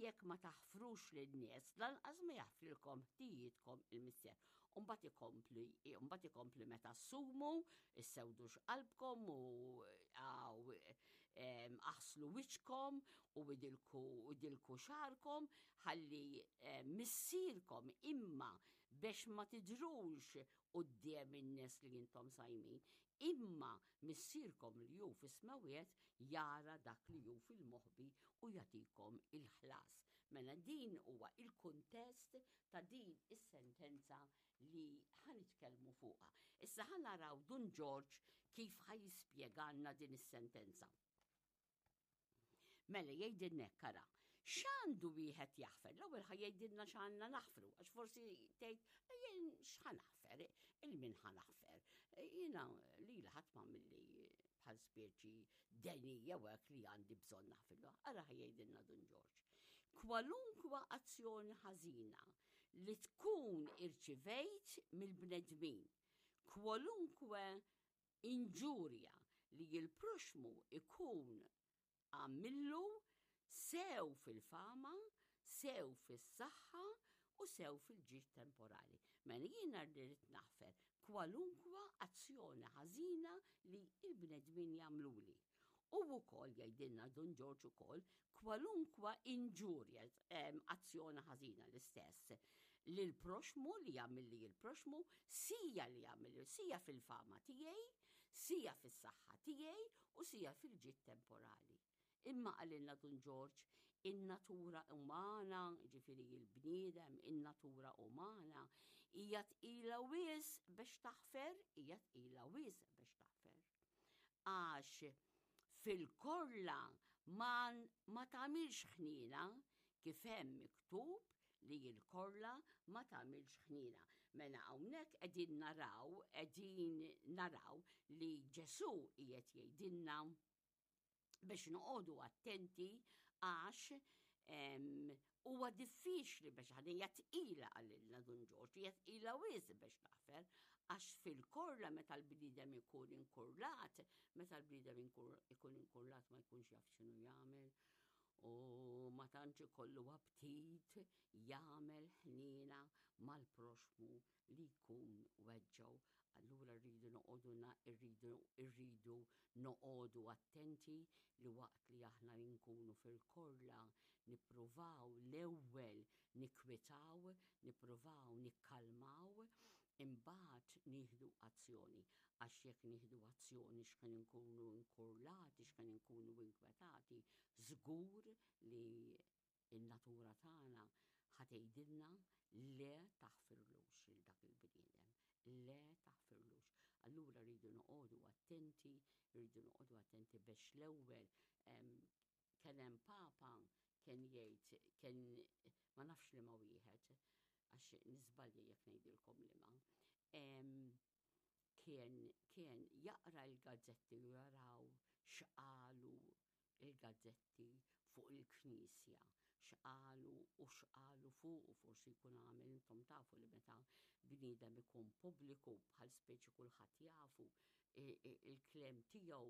jekk ma taħfrux lin-nies, lanqas ma jaħfrilkom ħtijietkom il-Missier. Umbagħad ikompli, umbagħad ikompli meta ssumu, issewdux qalbkom u għaw aħslu wiċċkom u idilku idilku xagħarkom ħalli missierkom imma biex ma tidrux quddiem in-nies li intom sajmin, imma missierkom li hu fis-smewwiet jara dak li hu fil-moħbi u jagħtikom il-ħlas. Mela din huwa il-kuntest ta' din is-sentenza li ħa nitkellmu fuqha. Issa ħa naraw Dun Ġorġ kif ħa jispjegalna din is-sentenza. Mela jgħidilna hekk ara, x'għandu wieħed jaħfer? L-ewwel ħa jgħidilna x'għandna naħfru, għax forsi tgħid jien x'ħa naħfer, il-min ħa naħfer. Jiena li ħadd ma milli bħal speċi deni jew hekk li għandi bżonn naħfirlu. Ara ħa jgħidilna Dun Ġorġ. Kwalunkwa azzjoni ħażina li tkun irċivejt mill-bnedmin, kwalunkwe inġurja li l-proxxmu ikun għamillu sew fil-fama, sew fis-saħħa u sew fil-ġid temporali. Mela jiena rrid naħfer kwalunkwa azzjoni ħażina li l-bnedmin jagħmluli. U wkoll jgħidilna Dun Ġorġ ukoll kwalunkwa inġurja, azzjoni ħażina l-istess lil proxmu li jagħmilli l-proxmu, sija li jagħmilli, sija fil-fama tiegħi, sija fis-saħħa tiegħi u sija fil-ġid temporali. Imma qalilna Dun Ġorġ, in-natura umana, ġifieri il-bniedem, in-natura umana, hija tqila wisq biex taħfer, hija tqila wisq biex taħfer. Għax fil-korla ma, ma tagħmilx ħniena kif hemm miktub li l-korla ma tagħmilx ħniena. Mela hawnhekk qegħdin naraw, qegħdin naraw li Ġesù qiegħed jgħidilna biex noqogħdu attenti għax huwa diffiċli biex ħadin hija tqila qalilna Dun Ġorġ, hija tqila wisq biex taħfer, għax fil-korla meta l-bniedem ikun inkurlat, meta l-bniedem ikun inkurlat ma jkunx jaf x'inhu jagħmel u ma tantx ikollu aptit jagħmel ħniena mal-proxmu li jkun weġġgħu. Allura rridu noqogħdu rridu rridu noqogħdu attenti li waqt li aħna nkunu fil-korla nippruvaw l-ewwel nikkwitaw, nippruvaw nikkalmaw, imbagħad nieħdu azzjoni. Għax jekk nieħdu azzjoni x'kien inkunu inkurlati, x'kien inkunu inkwetati, żgur li In-natura tagħna ħa tgħidilna le taħfirlux lil dak il-bniedem, le taħfirlux. Allura rridu noqogħdu attenti, rridu noqogħdu attenti biex l-ewwel kien hemm papa kien jgħid kien ma nafx li ma wieħed għax niżbalja jekk ngħidilkom li ma. Kien kien jaqra l-gazzetti u jaraw x'qalu il-gazzetti fuq il-Knisja, x'qalu u x'qalu fuqu forsi jkun għamel intom tafu li meta bniedem ikun pubbliku bħal speċi kulħadd jafu il-klem tiegħu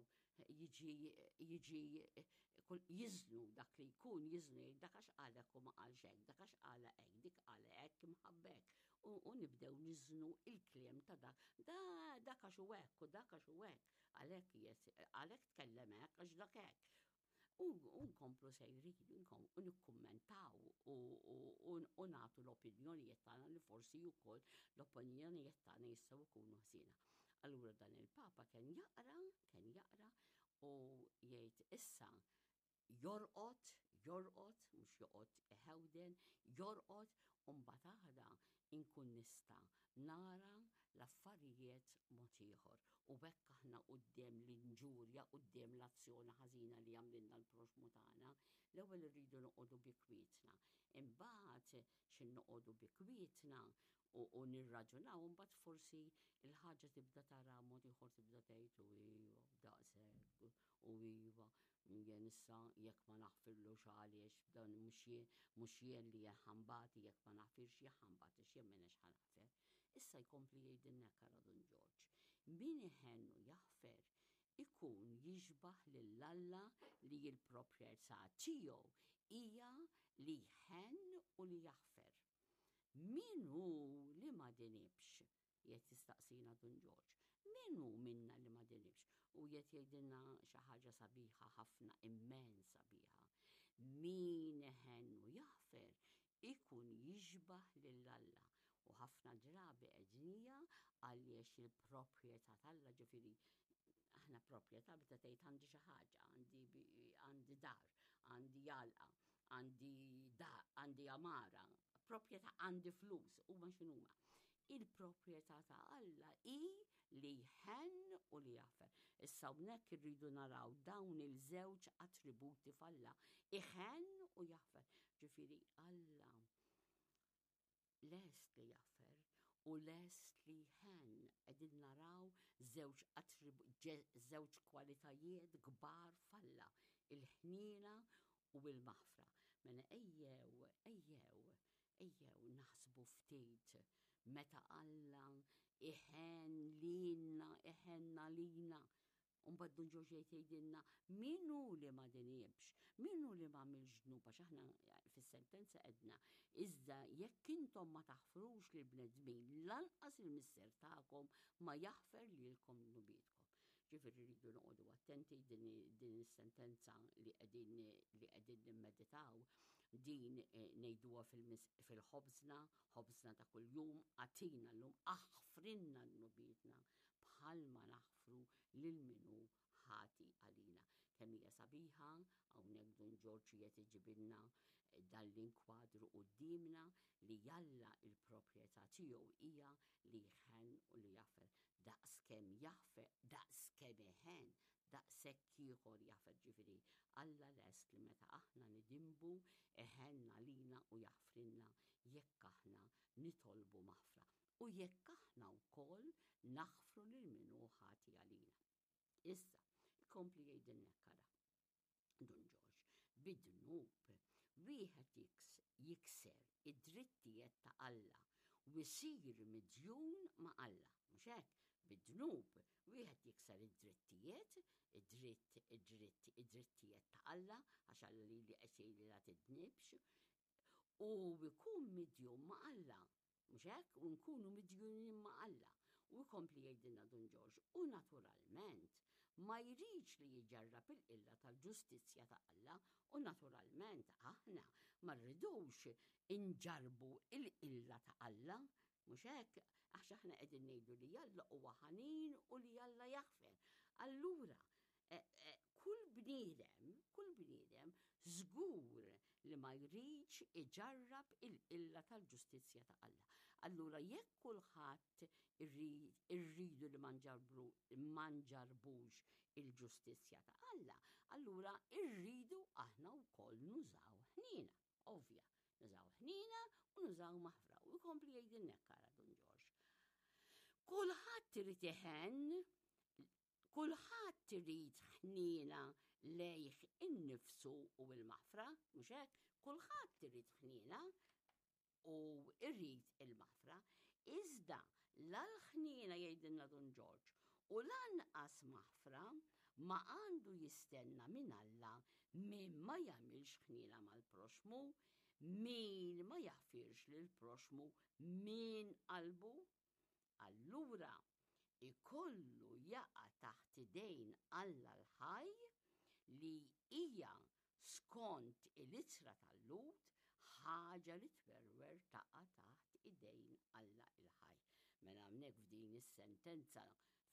jiġi jiġi jiżnu dak li jkun jiżnu jgħid dak għax qal hekk u ma qalx hekk, dak għax qala hekk, dik qala hekk imħabbek. U nibdew niżnu il-kliem ta' dak, da dak għax hu hekk u dak għax hu hekk. Għalhekk għalhekk tkellem hekk għax dak hekk. U nkomplu sejrin, u nikkummentaw u nagħtu l-opinjonijiet tagħna li forsi wkoll l-opinjonijiet tagħna jistgħu jkunu ħżiena. Allura dan il-Papa kien jaqra, kien jaqra u jgħid issa jorqod, jorqod, mhux joqgħod iħewden, jorqod u mbagħad għada inkun nista' nara l-affarijiet mod ieħor. U hekk aħna quddiem l-inġurja, quddiem l-azzjoni ħażina li jagħmlilna l-proxmu tagħna, l-ewwel irridu noqogħdu bi kwietna. Imbagħad xi noqogħdu bi kwietna u nirraġunaw, imbagħad forsi l-ħaġa tibda tara mod ieħor tibda tgħid u iva daqshekk u iva jien issa jekk ma naħfirlux għaliex dan mhux jien mhux jien li ħambati jekk ma naħfirx jien ħambati x'jien m'iniex ħa naħfer. Issa jkompli jgħidilna hekk ara Dun Ġorġ. Min iħenn u jaħfer ikun jixbah lil Alla li l-proprjetà tiegħu. hija li jħenn u li jaħfer. Min hu li ma dinibx? Qiegħed jistaqsina Dun Ġorġ. Min hu minna li ma dinibx? U qiegħed jgħidilna xi ħaġa sabiħa ħafna, immens sabiħa. Min iħenn u jaħfer ikun jixbah lil Alla. U ħafna drabi qegħdnija għaliex il-proprjetà t'Alla, ġifieri aħna proprjetà meta tgħid għandi xi ħaġa, għandi dar, għandi għalqa, għandi da, għandi għamara, proprjetà għandi flus, huma x'inhuma. Il-proprjetà ta' Alla hi li jħenn u li jaħfer. Issa hawnhekk irridu naraw dawn il-żewġ attributi f'Alla, iħenn u jaħfer. Ġifieri Alla lest li jaħfer u lest li jħenn. Qegħdin naraw żewġ żewġ kwalitajiet kbar f'Alla, il-ħniena u l-maħfra. Mela ejjew, ejjew, ejjew naħsbu ftit meta Alla iħenn lilna, iħenn għalina. U mbagħad Dun Ġorġ jgħid jgħidilna min hu li ma dinibx, min hu li ma għamilx dnub, għax aħna fis-sentenza għedna, iżda jekk intom ma taħfrux lill-bnedmin, lanqas il-Missier tagħkom ma jaħfer lilkom dnubietkom. Ġifieri rridu noqogħdu attenti din din is-sentenza li qegħdin li qegħdin nimmeditaw din eh, ngħiduha fil-ħobżna, ħobżna ta' kuljum, agħtina llum aħfrilna dnubietna bħalma naħfru lil min hu ħati għalina. Kemm hija sabiħa, hawnhekk Dun Ġorġ qiegħed iġibilna dan l-inkwadru quddiemna li Alla il-proprjetà tiegħu hija li jħenn u li jaħfer. Daqs kemm jaħfer, daqs kemm iħenn, daqshekk ieħor jaħfer. Ġifieri Alla lest li meta aħna nidinbu iħenn għalina u jaħfrilna jekk aħna nitolbu maħfra u jekk aħna wkoll naħfru lil min hu ħati għalina. Issa, ikompli jgħidilna hekk ara. Dun Ġorġ, bid-dnub wieħed jikser id-drittijiet ta' Alla u jsir midjun ma' Alla. Mhux hekk? Bid-dnub wieħed jikser id-drittijiet, id-dritt, id-dritt, id-drittijiet ta' Alla, għax Alla lili qed jgħidli la tidnibx, u jkun midjun ma' Alla. Mhux hekk? U nkunu midjunin ma' Alla. U jkompli jgħidilna Dun Ġorġ, u naturalment ma jridx li jġarrab il-qilla tal-ġustizzja ta' Alla, u naturalment aħna ma rridux inġarrbu l-qilla ta' Alla. Mhux hekk? Għax aħna qegħdin ngħidu li Alla huwa ħanin u li Alla jaħfer. Allura, kull bniedem, kull bniedem żgur li ma jridx iġarrab il-qilla tal-ġustizzja ta' Alla. Allura jekk kulħadd irridu li ma nġarrbru ma nġarrbux il-ġustizzja ta' Alla, allura rridu aħna wkoll nużaw ħniena. Ovvja, nużaw ħniena u nużaw maħfra. U jkompli jgħidilna hekk ara Dun Ġorġ. Kulħadd irid iħenn Kulħadd irid ħniena lejh innifsu u l-maħfra, mhux hekk? Kulħadd irid ħniena u jrid il-maħfra. Iżda la l-ħniena jgħidilna Dun Ġorġ u lanqas maħfra ma għandu jistenna minn Alla min ma jagħmilx ħniena mal-proxxmu, min ma jaħfirx lill-proxxmu minn qalbu. Allura ikollu jaqa' taħt idejn Alla l-ħaj, li hija, skont il-ittra tal-Lhud, ħaġa li twerwer taqa' taħt idejn Alla l-ħaj. Mela hawnhekk f'din is-sentenza,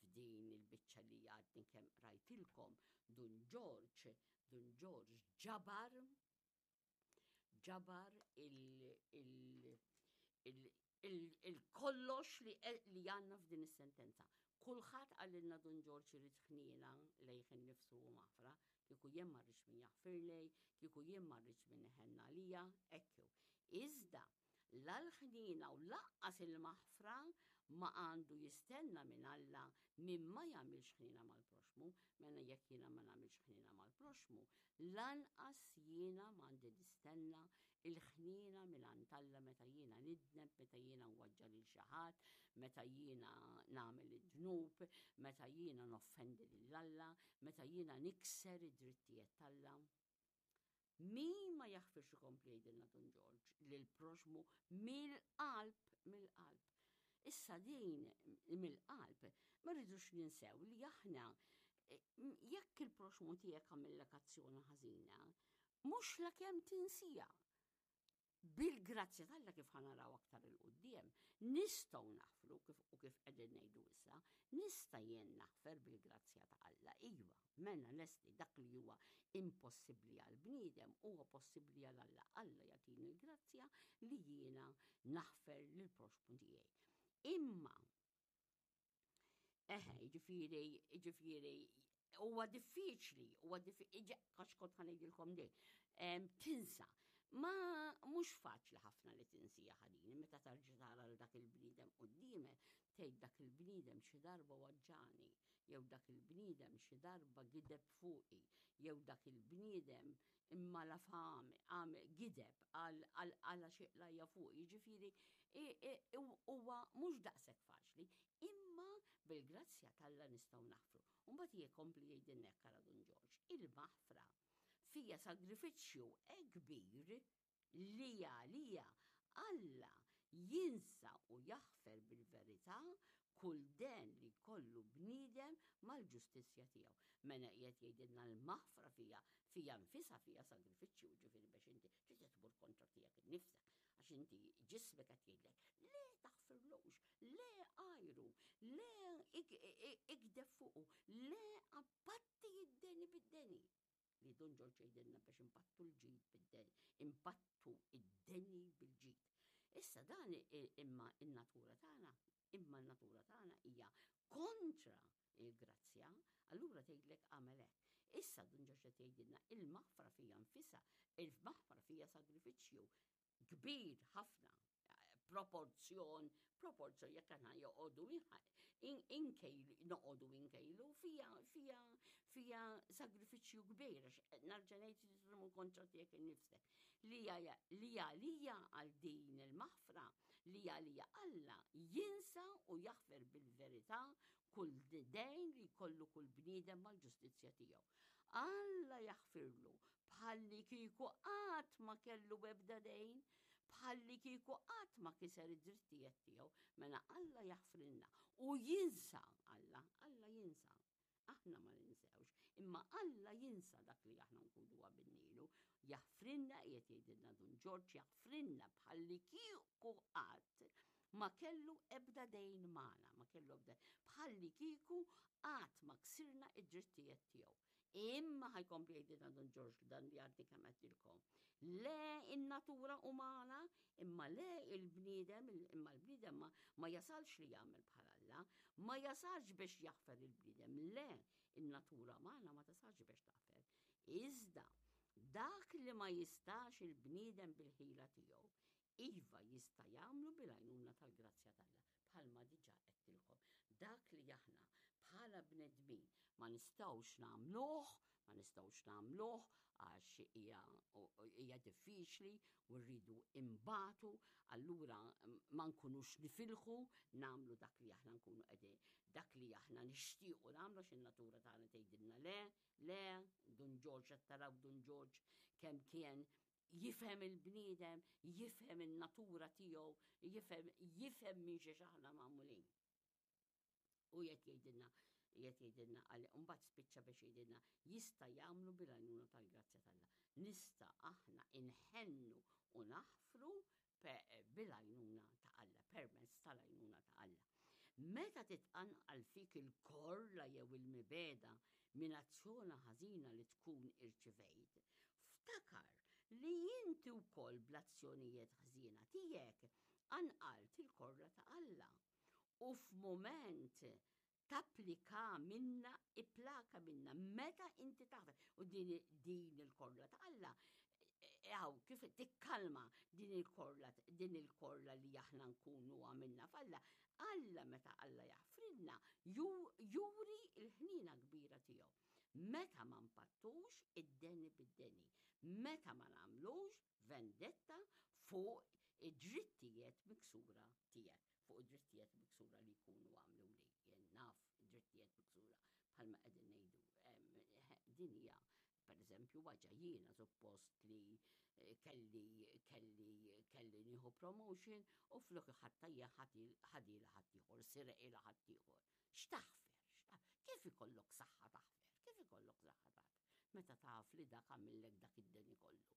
f'din il-biċċa li għadni kemm qrajtilkom, Dun Ġorġ, Dun Ġorġ ġabar ġabar il-kollox li għandna f'din is-sentenza. Kulħadd qalilna Dun Ġorġ irid ħniena lejh innifsu u maħfra, kieku jien ma rridx min jaħfirli, kieku jien ma rridx min iħenn għalija, hekk hu. Iżda la l-ħniena u lanqas il-maħfra ma għandu jistenna minn Alla min ma jagħmilx ħniena mal-proxxmu, mela jekk jiena ma nagħmilx ħniena mal-proxxmu, Lanqas jiena m'għandi nistenna l-ħniena mingħand Alla meta jiena nidneb, meta jiena nweġġa' lil xi ħadd, meta jiena nagħmel id-dnub, meta jiena noffendi lil Alla, meta jiena nikser id-drittijiet t'Alla. Min ma jaħfirx ikompli jgħidilna Dun Ġorġ lill-proxmu mill-qalb, mill-qalb. Issa din mill-qalb ma rridux ninsew li aħna jekk il-proxmu tiegħek għamillek azzjoni ħażina, mhux lakemm tinsija. Bil-grazzja t'Alla kif ħa naraw aktar 'il quddiem, nistgħu naħfru kif u kif qegħdin ngħidu issa, nista' jien naħfer bil-grazzja ta' Alla, iva, mela lesti dak li huwa impossibbli għall-bniedem huwa possibbli għal Alla, Alla jagħtini l-grazzja li jiena naħfer lill-proxxmu tiegħi. Imma Eħe, jiġifieri, jiġifieri, huwa diffiċli, huwa diffiċli, għax kont ħanejdilkom din, tinsa. Ma mhux faċli ħafna li tinsija ħadini, meta tarġa tara l dak il-bniedem quddiemek, tgħid dak il-bniedem xi darba waġġani, jew dak il-bniedem xi darba gideb fuqi, jew dak il-bniedem imma la fam, għam gideb għal xi qlajja fuq, jiġifieri huwa mhux daqshekk faċli, imma bil-grazzja t'Alla nistgħu naħfru. U mbagħad jkompli jgħidilna hekk ara Dun Ġorġ, il-maħfra fija sagrifiċċju hekk kbir li għalija Alla jinsa u jaħfer bil-verità kull den li jkollu bniedem mal-ġustizzja tiegħu. Mela qiegħed jgħidilna l-maħfra fija, fija nfisha fija sagrifiċċju, ġifieri biex inti trid tmur kontra tiegħek innifsek, għax inti ġismek qed jgħidlek le taħfirlux, le għajru, le igdeb fuqu, le appatti id-deni bid-deni. Li Dun Ġorġ jgħidilna biex impattu l-ġid bid-deni, impattu id-deni bil-ġid. Issa dan imma in-natura tagħna, imma n-natura tagħna hija kontra il-grazzja, allura tgħidlek agħmel hekk. Issa Dun Ġorġ qed jgħidilna il-maħfra fija nfisha, il-maħfra fija sagrifiċċju kbir ħafna, proporzjon, proporzjon jekk aħna joqogħdu inkejlu, noqogħdu inkejlu fija fija fija sagrifiċċju kbir għax narġa' ngħid tmur kontra tiegħek innifsek. Li għalija għal din il-maħfra, li għalija Alla jinsa u jaħfer bil-verità kull dejn li jkollu kull bniedem mal-ġustizzja tiegħu. Alla jaħfirlu bħallikieku qatt ma kellu ebda dejn, bħallikieku qatt ma kiser id-drittijiet tiegħu. Mela Alla jaħfrilna u jinsa Alla, Alla jinsa. Aħna ma ninsewx, imma Alla jinsa dak li aħna nkunu għamilnilu. Jaħfrilna qiegħed jgħidilna Dun Ġorġ, jaħfrilna bħallikieku qatt ma kellu ebda dejn magħna, ma kellu ebda bħallikieku qatt ma ksirna id-drittijiet tiegħu. Imma ħa jkompli jgħidilna Dun Ġorġ dan li għadni kemm għedtilkom. Le in-natura umana, imma le il-bniedem, imma l-bniedem ma, ma jasalx li jagħmel bħal Alla, ma jasalx biex jaħfer il-bniedem, le in-natura umana ma tasalx biex taħfer. Iżda dak li ma jistax il-bniedem bil-ħila tiegħu, iva jista' jagħmlu bil-għajnuna tal-grazzja t'Alla, bħalma diġà għedtilkom. Dak li aħna bħala bnedmin ma nistgħux nagħmluh, ma nistgħux nagħmluh għax hija hija diffiċli u rridu imbatu, allura ma nkunux nifilħu nagħmlu dak li aħna nkunu qegħdin, dak li aħna nixtiequ nagħmlu għax in-natura tagħna tgħidilna le, le, Dun Ġorġ qed taraw Dun Ġorġ kemm kien jifhem il-bniedem, jifhem in-natura tiegħu, jifhem jifhem minn xiex aħna magħmulin. U jekk jgħidilna, jekk jgħidilna għal mbagħad spiċċa biex jgħidilna jista' jagħmlu bil-għajnuna tal-grazzja t'Alla. Nista' aħna inħennu u naħfru bil-għajnuna ta' Alla, permezz tal-għajnuna ta' Alla. Meta titqanqal fik il-korla jew il-mibegħda minn azzjona ħażina li tkun irċivejt, ftakar li inti wkoll bl-azzjonijiet ħżiena tiegħek qanqalt il-korla ta' Alla u f'mument tapplika minna, ipplaka minna, meta inti taħfer. U din, din il-korla ta' Alla, għaw, kif tikkalma din il-korla, din il-korla li aħna nkunu għamilna f'Alla. Alla meta Alla jaħfrilna, juri il-ħnina kbira tiegħu. Meta ma npattux id-deni bid-deni, meta ma nagħmlux vendetta fuq id-drittijiet miksura tiegħek. fuq id-drittijiet miksura li jkunu għamluli. Jien naf id-drittijiet miksura bħalma qegħdin ngħidu. Din hija pereżempju, waġa jiena suppost li eh, kelli kelli kelli nieħu promotion u flok ħatta jien ħadila ħaddieħor, sireqilha ħaddieħor. X'taħfer? Kif ikollok saħħa taħfer? Kif ikollok saħħa taħfer? Meta taf li dak għamillek dak id-deni kollu,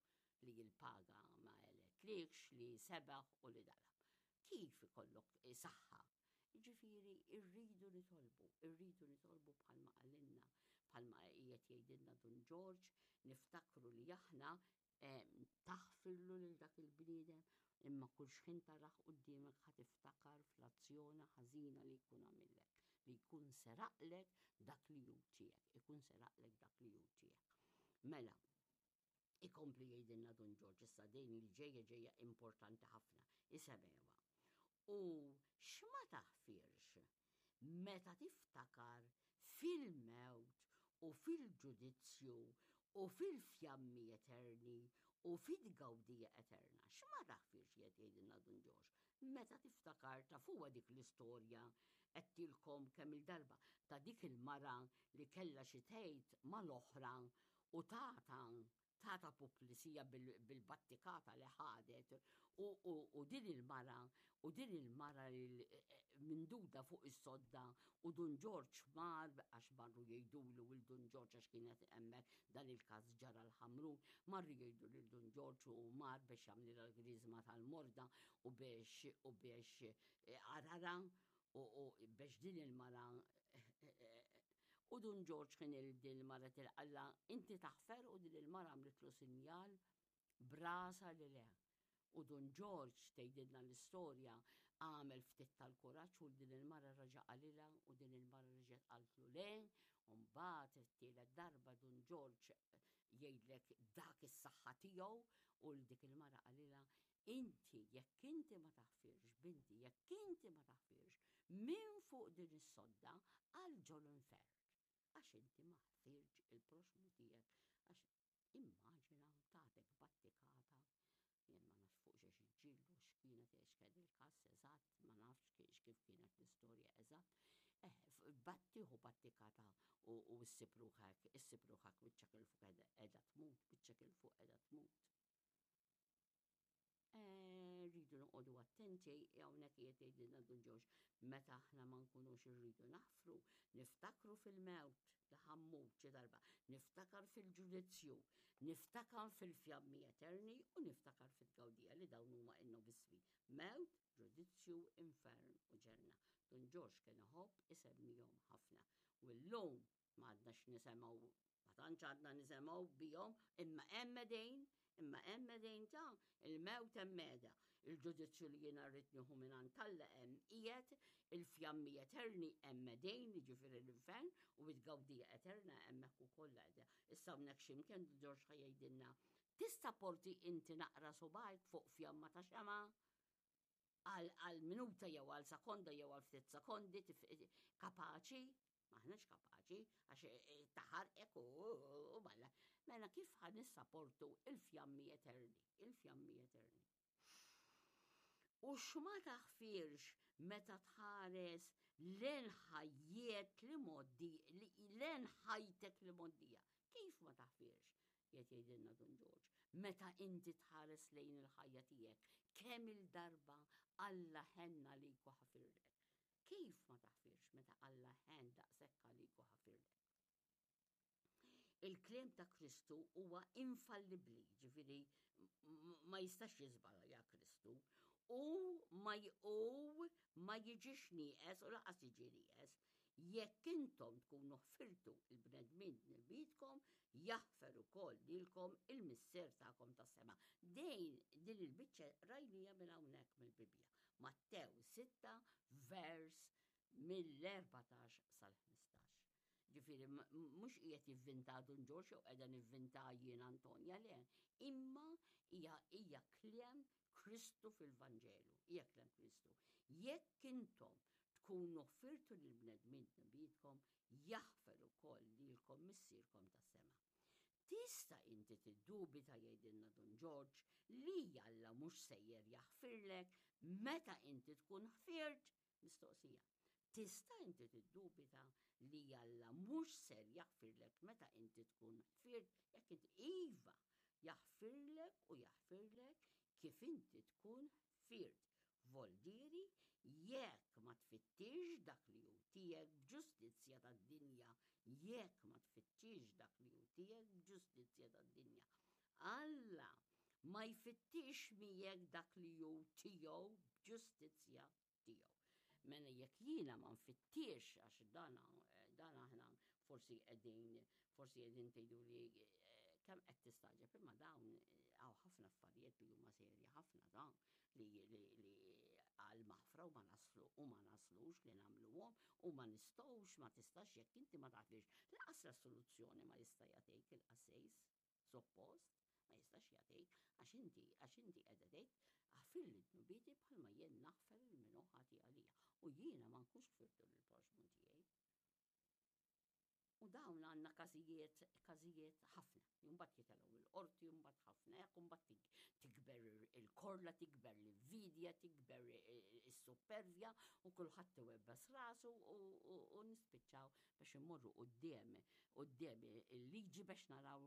li l-paga ma għeletlikx, li sebaħ u li dala. Kif ikollok saħħa? Jiġifieri rridu nitolbu, irridu nitolbu bħalma qalilna, bħalma qiegħed jgħidilna Dun Ġorġ, niftakru li aħna eh, taħfirlu lil dak il-bniedem, imma kull xħin tarah quddiemek ħa tiftakar fl-azzjoni ħażina li jkun għamillek, li jkun seraqlek dak li hu tiegħek, ikun seraqlek dak li hu tiegħek. Mela, Ikompli jgħidilna Dun Ġorġ issa din li ġejja ġejja importanti ħafna, isemewha. U x'ma taħfirx meta tiftakar fil-mewt u fil-ġudizzju u fil-fjammi eterni u fit-tgawdija eterna. X'ma taħfirx qiegħed jgħidilna Dun Ġorġ meta tiftakar tafuha dik l-istorja għedtilkom kemm-il darba ta' dik il-mara li kellha xi tgħid mal-oħra u tata tata puplisija bil-battikata li ħadet u din il-mara u din il-mara minduda fuq is-sodda u Dun Ġorġ mar għax marru jgħidulu lil Dun Ġorġ għax kienet hemmhekk dan il-każ ġara l-Ħamrun, marru jgħidu lil Dun Ġorġ u mar biex jagħmlilha l-griżma tal-morda u biex u biex arara u biex din il-mara U Dun Ġorġ kien il din il-mara tilqalla inti taħfer u din il-mara għamlitlu sinjal b'rasha li le. U Dun Ġorġ, tgħidilna l-istorja, għamel ftit tal-kuraġġ u din il-mara reġa' qalilha u din il-mara reġgħet qaltlu le, u mbagħad it-tielet darba Dun Ġorġ jgħidlek dak is-saħħa tiegħu u l dik il-mara qalilha inti jekk inti ma taħfirx binti jekk inti ma taħfirx minn fuq din is-sodda għal ġol-infern għax inti ma ħfirtx il-proxxmu tiegħek għax immaġina tatek battikata jien ma nafx fuq xiex iġġieldu x'kienet x'kien il-każ eżatt ma nafx kif kienet l-istorja eżatt eh, battieħu battikata u ssib ruħek issib ruħek wiċċek 'il fuq qiegħda tmut wiċċek 'il fuq qiegħda tmut. Eh, rridu noqogħdu attenti hawnhekk qiegħed jgħidilna Dun Ġorġ meta aħna ma nkunux irridu naħfru, niftakru fil-mewt li ħammut xi darba, niftakar fil-ġudizzju, niftakar fil-fjammi eterni u niftakar fit-tgawdija li dawn huma in-novismi. Mewt, ġudizzju, infern u ġenna. Dun Ġorġ kien iħobb isemmihom ħafna. U llum ma għadnax nisemgħu Ma tantx għadna nisemgħu bihom, imma hemm qegħdin, imma hemm qegħdin ta' il-mewt hemm qiegħda. Il-ġudizzju li jiena rrid nieħu mingħand Alla hemm qiegħed, il-fjammi eterni hemm qegħdin, jiġifieri l-infern, u t-tgawdija eterna hemmhekk ukoll qiegħda. Issa hawnhekk x'imkien Ġorġ ħa jgħidilna, tista' porti inti naqra subgħajk fuq fjamma ta' xemgħa? Għal minuta jew għal sekonda jew għal ftit sekondi kapaċi M'aħniex kapaċi għax eh, eh, taħarqek u malla. Mela kif ħa nissaportu il-fjammi eterni, il-fjammi eterni. U x'ma taħfirx meta tħares lejn ħajjiet li moddi, lejn ħajtek li moddija. Kif ma taħfirx? Qiegħed jgħidilna Dun Ġorġ, meta inti tħares lejn il-ħajja tiegħek, kemm il-darba Alla ħenn għalik u ħafirlek. Kif ma taħfirx meta Alla ħenn daqshekk għalik u ħafirlek? Il-kliem ta' Kristu huwa infallibbli, ġifieri ma jistax jiżbalja Kristu, u ma u ma jiġix nieqes u laqas jiġi nieqes. Jekk intom tkunu ħfirtu il-bnedmin dnubietkom, jaħfer ukoll lilkom il-Missier tagħkom tas-sema. Dejn din il-biċċa rajnija minn hawnhekk mill-Bibbja. Mattew 6 vers mill-14 sal-15. Ġifieri mhux qiegħed jivvinta Dun Ġorġ jew qiegħda nivvinta jien Antonja le, imma hija hija kliem Kristu fil-Vanġelu, hija kliem Kristu. Jekk intom tkunu ħfirtu lill-bnedmin dnubietkom, jaħfer ukoll lilkom Missierkom tas-sema. Tista' inti tiddubita, jgħidilna Dun Ġorġ, li Alla mhux sejjer jaħfirlek meta inti tkun ħfirt? Mistoqsija. Tista' inti tiddubita li Alla mhux ser jaħfirlek meta inti tkun ħfirt jekk inti iva jaħfirlek u jaħfirlek kif inti tkun ħfirt. Voldieri jekk ma tfittix dak li hu tiegħek b'ġustizzja tad-dinja, jekk ma tfittix dak li hu tiegħek b'ġustizzja tad-dinja. Alla ma jfittix miegħek dak li hu tiegħu b'ġustizzja tiegħu. Mela jekk jiena ma nfittix għax dan dan aħna forsi qegħdin forsi qegħdin tgħidu li eh, kemm qed tistagħġeb imma dawn eh, hawn ħafna affarijiet li huma serji ħafna ta' li li li għal maħfra u ma naslu u ma naslux li nagħmluhom u ma nistgħux ma tistax jekk inti ma tafx laqas l-soluzzjoni ma jista' jagħtik il-qassis suppost ma jistax jagħtik għax inti għax inti qiegħda tgħid aħfirli dnubieti bħalma jien naħfer lil min hu ħati għalija u jiena ma nkunx ħfirtu lill-proxxmu tiegħi. U dawn għandna każijiet każijiet ħafna. Imbagħad jitelgħu il-qorti, imbagħad ħafna hekk, imbagħad tikber il-korla, tikber l-invidja, tikber is-suppervja u kulħadd iwebbes rasu u nispiċċaw biex immorru quddiem quddiem il-liġi biex naraw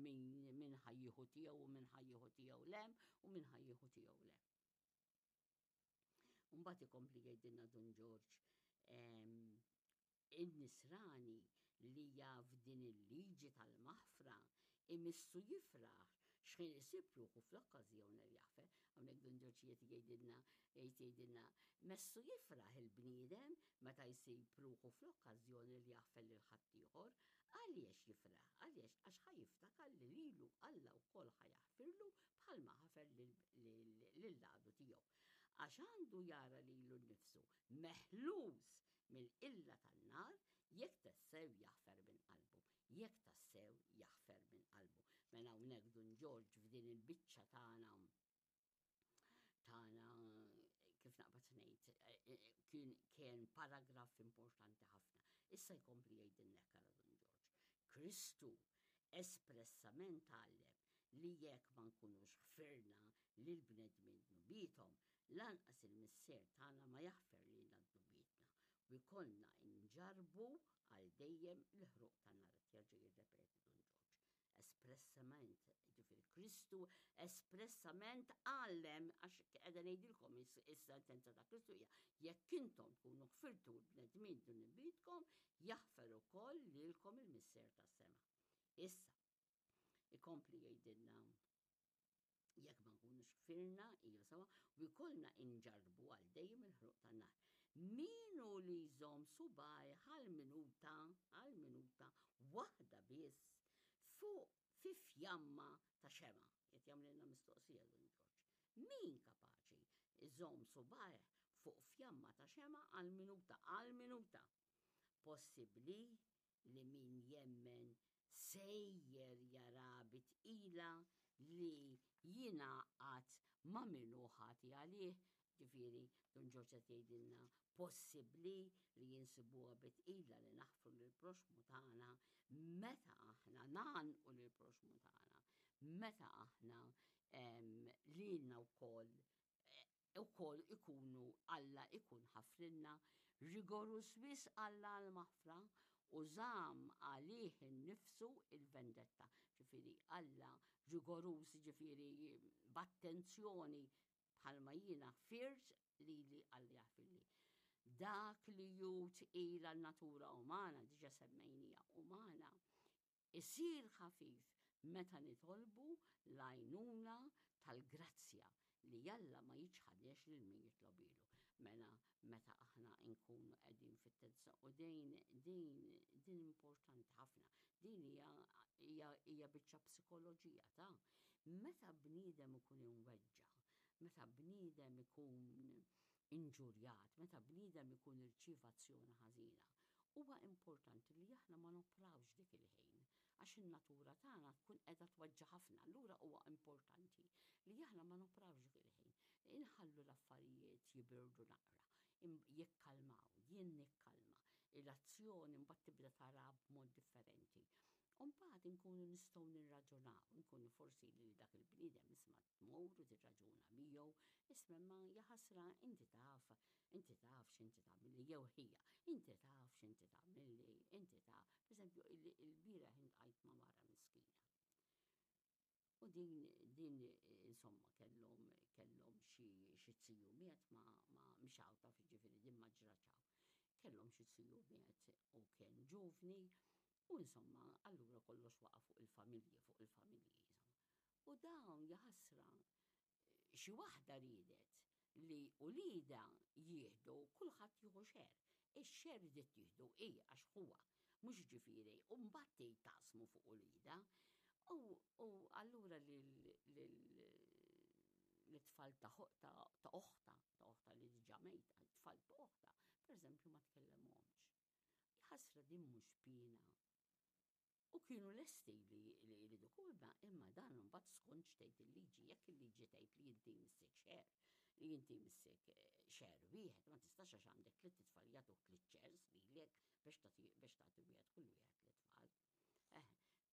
min min ħa jieħu tiegħu u min ħa jieħu tiegħu 'l hemm u min ħa jieħu tiegħu 'l hemm. Mbagħad ikompli jgħidilna Dun Ġorġ in-nisrani li jaf din il-liġi tal-maħfra imissu jifraħ x'ħin isib ruħu fl-okkażjoni li jaħfer. Hawnhekk Dun Ġorġ qiegħed jgħidilna qiegħed jgħidilna messu jifraħ il-bniedem meta jsib ruħu fl-okkażjoni li jaħfer lil ħaddieħor. Għaliex jifraħ? Għaliex? Għax ħa jiftakar li lilu Alla wkoll ħa jaħfirlu bħalma ħafer lill-għadu tiegħu. Għax għandu jara lilu nnifsu meħlus mill-qilla tan-nar jekk tassew jaħfer minn qalbu. Jekk tassew jaħfer minn qalbu. Mela hawnhekk Dun Ġorġ f'din il-biċċa tagħna tagħna kif naqbad ngħid eh, eh, kien kien paragraf importanti ħafna. Issa jkompli jgħidilna hekk ara Dun Ġorġ. Kristu espressament għallem li jekk ma nkunux ħfirna lil bnedmin dnubiethom, lanqas il-Missier tagħna ma jaħfer lilna dnubietna u jkollna nġarrbu għal dejjem il-ħruq tan-nar. Qed jerġa' jirrepeti Dun Ġorġ. Espressament, jiġifieri Kristu espressament għallem għax qiegħda ngħidilkom is-sentenza ta' Kristu hija jekk intom tkunu ħfirtu l-bnedmin dnubietkom, jaħfer ukoll lilkom il-Missier tas-sema. Issa, ikompli jgħidilna jekk ma nkunux ħfirna, hija sewa, u jkollna inġarrbu għal dejjem il-ħruq tan-nar. Min hu li jżomm subgħajh għal minuta, għal minuta waħda biss fuq fi fjamma ta' xemgħa? Qed jagħmlilna mistoqsija Dun Ġorġ. Min kapaċi jżomm subgħajh fuq fjamma ta' xemgħa għal minuta, għal minuta? Possibbli li min jemmen sejjer jara bi tqila li jingħaqad ma' min hu ħati għalih, ġifieri Dun Ġorġ qed jgħidilna possibbli li insibuha bi tqila li naħfru lill-proxxmu tagħna meta aħna ngħannqu lill-proxxmu tagħna, meta aħna lilna wkoll ukoll ikunu Alla ikun ħafrilna, rigoruż wisq Alla għall-maħfra u żamm għalih innifsu il-vendetta. Ġifieri Alla rigoruż ġifieri b'attenzjoni bħalma jiena ħfirt lili Alla jaħfirli. Dak li hu tqil għan-natura umana, diġa semmejnija umana, Isir ħafif meta nitolbu l-għajnuna tal-grazzja li Alla ma jiċħadniex lil min jitlobhielu. Mela meta aħna nkunu qegħdin fit-tensja u din din din importanti ħafna. Din hija hija hija biċċa psikoloġija ta' meta bniedem ikun imweġġa', meta bniedem ikun inġurjat, meta bniedem ikun irċieva azzjoni ħażina, huwa importanti li aħna ma noprawx dik il-ħin, għax in-natura tagħna tkun qiegħda tweġġa' ħafna, allura huwa importanti li aħna ma noprawx dik il-ħin. Inħallu l-affarijiet jibirdu naqra, jikkalmaw, jien nikkalma, l-azzjoni mbagħad tibda taraha b'mod differenti. U mbagħad inkunu nistgħu nirraġunaw, inkunu forsi lil dak il-bniedem isma' tmur u tirraġuna miegħu. nitkellmu, isma' imma jaħasra inti taf, inti taf x'inti tagħmilli jew ħija, inti taf x'inti tagħmilli, inti taf. Pereżempju, il-bieraħ intqajt ma' mara miskina. U din din insomma kellhom kellhom xi xi ziju miet ma ma mhix hawn taf jiġifieri din ma ġratx hawn. Kellhom xi ziju miet u kien ġuvni u insomma allura kollox waqa' fuq il-familji fuq il-familji insomma. U dawn jaħasra xi waħda riedet li uliedha jieħdu kulħadd jieħu share. Ix-share ridet tieħdu hi għax ħuha, mhux jiġifieri u mbagħad tgħid taqsmu fuq uliedha. U u allura lil lil lit-tfal ta' ta' oħtha, ta' oħtha li diġà mejta, it-tfal ta' oħtha, pereżempju ma tkellemhomx. Ħasra din mhux piena. U kienu lesti li jridu imma imma dan imbagħad skont x'tgħid il-liġi, jekk il-liġi tgħid li inti jmissek share, li inti jmissek share wieħed, ma tistax għax għandek tlitt itfal jagħtuk tliet shares lilek biex tagħti biex tagħti wieħed kull wieħed lit-tfal. Eh,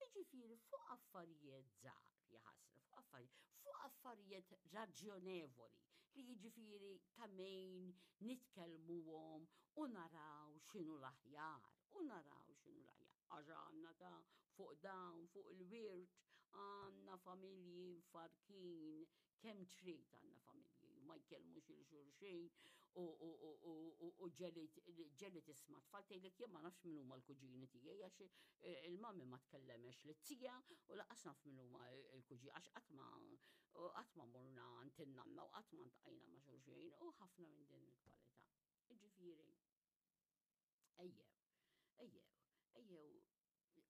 jiġifieri fuq affarijiet żgħar, jaħasra, fuq affarijiet, fuq affarijiet raġjonevoli li jiġifieri ta' min nitkellmuhom u naraw x'inhu l-aħjar, u naraw x'inhu l-aħjar. Għax għandna ta' fuq dawn, fuq il-wirt, għandna familji mfarrkin, kemm trid għandna familji u ma jkellmux il xulxin u ġeli tisma' tfal tgħidlek jien ma nafx min huma l-kuġini tiegħi għax eh, il-mami ma tkellemex lit-tija u laqas naf min huma l-kuġini għax qatt ma qatt ma morna għand in-nanna u qatt ma ntqajna ma' xulxin u ħafna minn din il-kwalità. Ġifieri, Ejjew, ejjew, ejjew.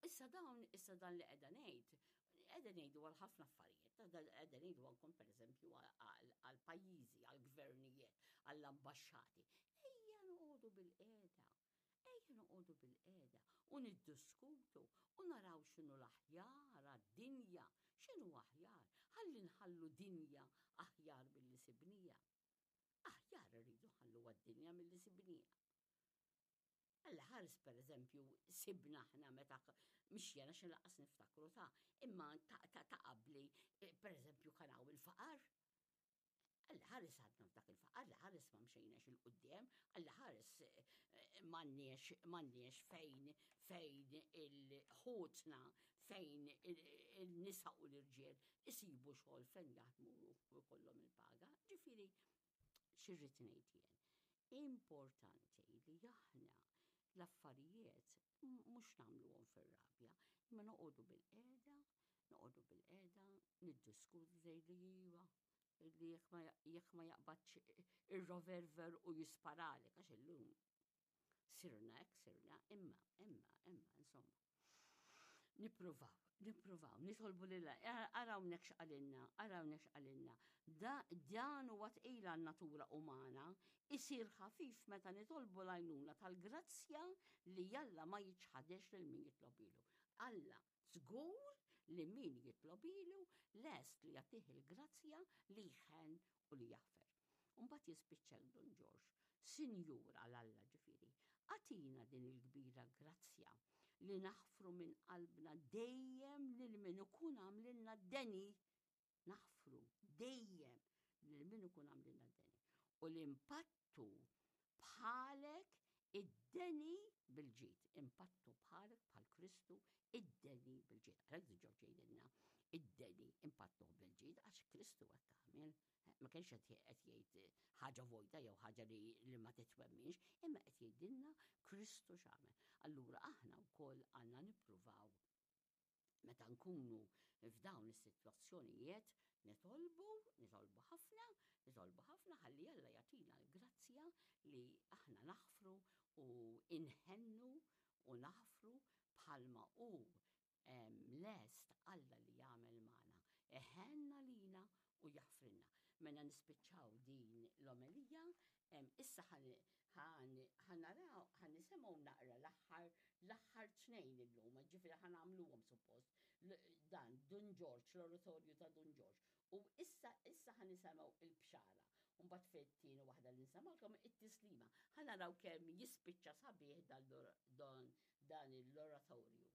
Issa dawn, issa dan li qiegħda ngħid, qiegħda ngħidu għal ħafna affarijiet, qiegħda ngħidu anke pereżempju għal pajjiżi, għal gvernijiet, għall ambaxxati. Ejja noqogħdu bil-qiegħda. Ejja noqogħdu bil-qiegħda u niddiskutu u naraw x'inhu l-aħjar għad-dinja, x'inhu aħjar, ħalli nħallu dinja aħjar milli sibnija. Aħjar irridu nħalluha d-dinja milli sibnieha. Alla ħares pereżempju sibna aħna meta mhix jiena xi laqas niftakru ta' imma ta' ta' qabli eh, pereżempju kien hawn il-faqar. Alla ħares għadna f'dak il-faqar, Alla ħares ma mxejnax il-qudiem, Alla ħares eh, m'għandniex m'għandniex fejn fejn il-ħutna fejn il-nisa u l-irġiel isibu xogħol fejn jaħdmu u jkollhom il-paga. Ġifieri xi rrid ngħid jien? Importanti li aħna l-affarijiet mhux nagħmluhom fir-rabja, imma noqogħdu bilqiegħda, noqogħdu bilqiegħda, niddiskutu tgħidli iva, li jekk ma jaqbadx ir-revolver u jisparalek għax illum Sirna hekk sirna, imma, imma, imma, insomma. Nippruvaw, nippruvaw, nitolbu lil araw hawnhekk x'qalilna, araw hawnhekk x'qalilna. Dan huwa tqil għan-natura umana, isir ħafif meta nitolbu l-għajnuna tal-grazzja li Alla ma jiċħadex lil min jitlobilu. Alla żgur li min jitlobilu lest li jagħtih il-grazzja li jħenn u li jaħfer. U mbagħad jispiċċa Dun Ġorġ, Sinjur għal Alla ġifieri, agħtina din il-kbira grazzja li naħfru minn qalbna dejjem lil min ikun għamlilna d-deni, naħfru dejjem lil min ikun għamlilna d-deni. U li npattu bħalek id-deni bil-ġid, impattu bħalek bħal Kristu id-deni bil-ġid. Għalhekk Dun Ġorġ jgħidilna id-deni impattuh bil-ġid għax Kristu hekk għamel. Ma kienx qed jgħid ħaġa vojta jew ħaġa li, li ma titwemminx, imma qed jgħidilna Kristu x'għamel. Allura aħna wkoll għandna nippruvaw meta nkunu f'dawn is-sitwazzjonijiet nitolbu, nitolbu ħafna, nitolbu ħafna ħalli Alla jagħtina l-grazzja li aħna naħfru u inħennu u naħfru bħalma hu lest Alla li jagħmel magħna. Iħenn għalina u jaħfrilna. Mela nispiċċaw din l-omelija, issa ħa naraw, ħa nisimgħu naqra l-aħħar l-aħħar tnejn illum, ġifieri ħa nagħmluhom suppost dan Dun Ġorġ, l-oratorju ta' Dun Ġorġ. U issa issa ħa nisimgħu il-bxara. U mbagħad fit-tieni waħda li nsemgħulkom it-tislima. Ħa naraw kemm jispiċċa sabiħ dan l-oratorju.